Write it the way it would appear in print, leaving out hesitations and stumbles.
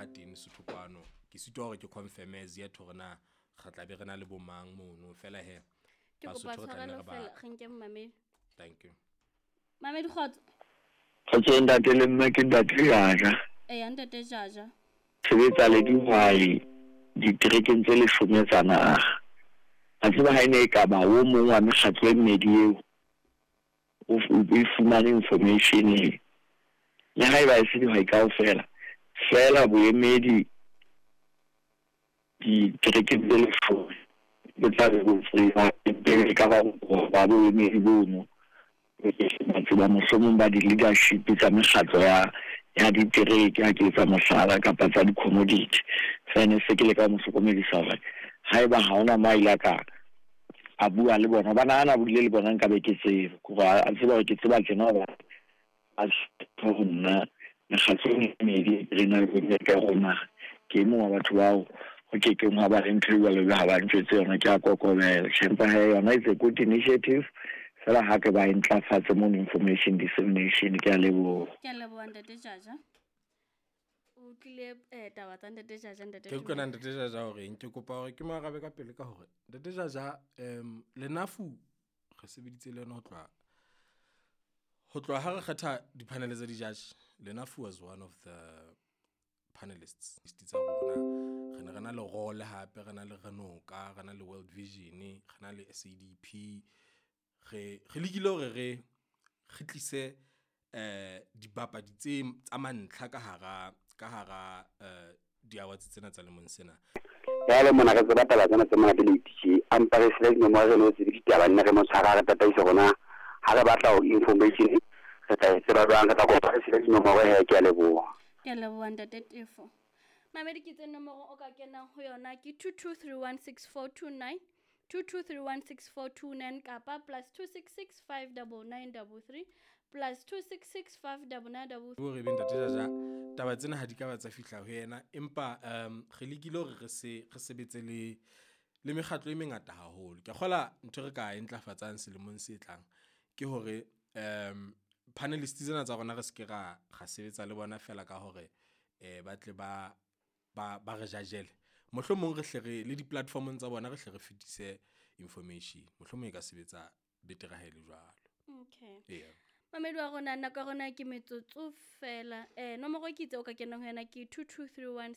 ba teng Lesotho kwano. Ke sitwa hore ke confirm as yet hore na re tla be re na le bo mang mono fela he. Ke kopa Basotho re tla nne tshwarelo re ba fela re nke momamedi. Thank you. Mamedi, kgotso. Kgotso ntate le mme, ke ntate Jaja. Eya, ntate Jaja. Sebetsa le dihwai diterekeng tse 10 tsa naha. A tseba ha e ne e ka ba o mong wa mekgatlo e mmedi eo o e fumane information e. Le haeba e se dihwai kaofela, feela boemedi diterekeng tse 10 bo tla be bo tseba pele ka ba ba boemedi bono. Ba tseba mohlomong ba di-leadership tsa mekgatlo ya ditereke, ha ke etsa mohlala, kapa tsa di-commodity. Fene se ke leka ho mo hlokomedisa hore haeba ha hona mo a ile a ka a bua le bona, hobane ha na buile le bona nka be ke tseba, hore a tseba hore ke tseba tjena hoba a ho nna mekgatlo e mmedi re na le boemedi ka rona. Ke e mong wa batho bao ho kekeng hwa ba le ntho e jwalo jwalo ha ba ntjwetse yona, ke a kokobela. Tjhe, empa hee yona it's a good initiative fela ha ke ba e ntlafatse mono information dissemination. Ke a leboha. Ke a leboha, ntate Jaja. O utlwile taba tsa ntate Jaja, ntate Ke utlwa Tumelo? Ntate Jaja hore eng, ke kopa hore ke mo arabe ka pele ka hore ntate Jaja, Lenafu re sebeditse le yena ho tloha ha re kgetha di-panel tsa di-judge. Lenafu was one of the panelists tsa rona. Re ne re na le role hape, re na le Renoka, re na le World Vision, re na le SADP. Re lekile hore re tlise dibapadi tse tsa mantlha ka hara di-awards tsena tsa lemong sena. Jale mona re tseba taba tsena tse monate le itj ampa re sele dinomoro, re no tsebe ditaba nne re mo tshwara, re tataise rona ha re batla ho information re tla e tseba jwang? Re tla kopa re sele dinomoro he. Ke a leboha. Ke a leboha, ntate Tefo. Mamedi, ke tse nomoro o ka kenang ho yona ke 22316429, 22316429, kapa +266 59933, +266 59933. Hore ebe ntate Jaja taba tsena ha di ka ba tsa fihla ho yena, empa re lekile hore re sebetse le mekgatlo e mengata haholo. Ke kgola ntho e re ka e ntlafatsang selemong se tlang ke hore panelist tsena tsa rona re se ke ra sebetsa le bona fela ka hore ba tle ba re judgele. Mohlomong re hle re le di-platformong tsa bona re hle re fetise information. Mohlomong e ka sebetsa betere ha e le jwalo. Okay. Eya. Mamedi wa rona, nako ya rona ke metsotso fela. Nomoro ke itse o ka kenang ho yona ke 2231.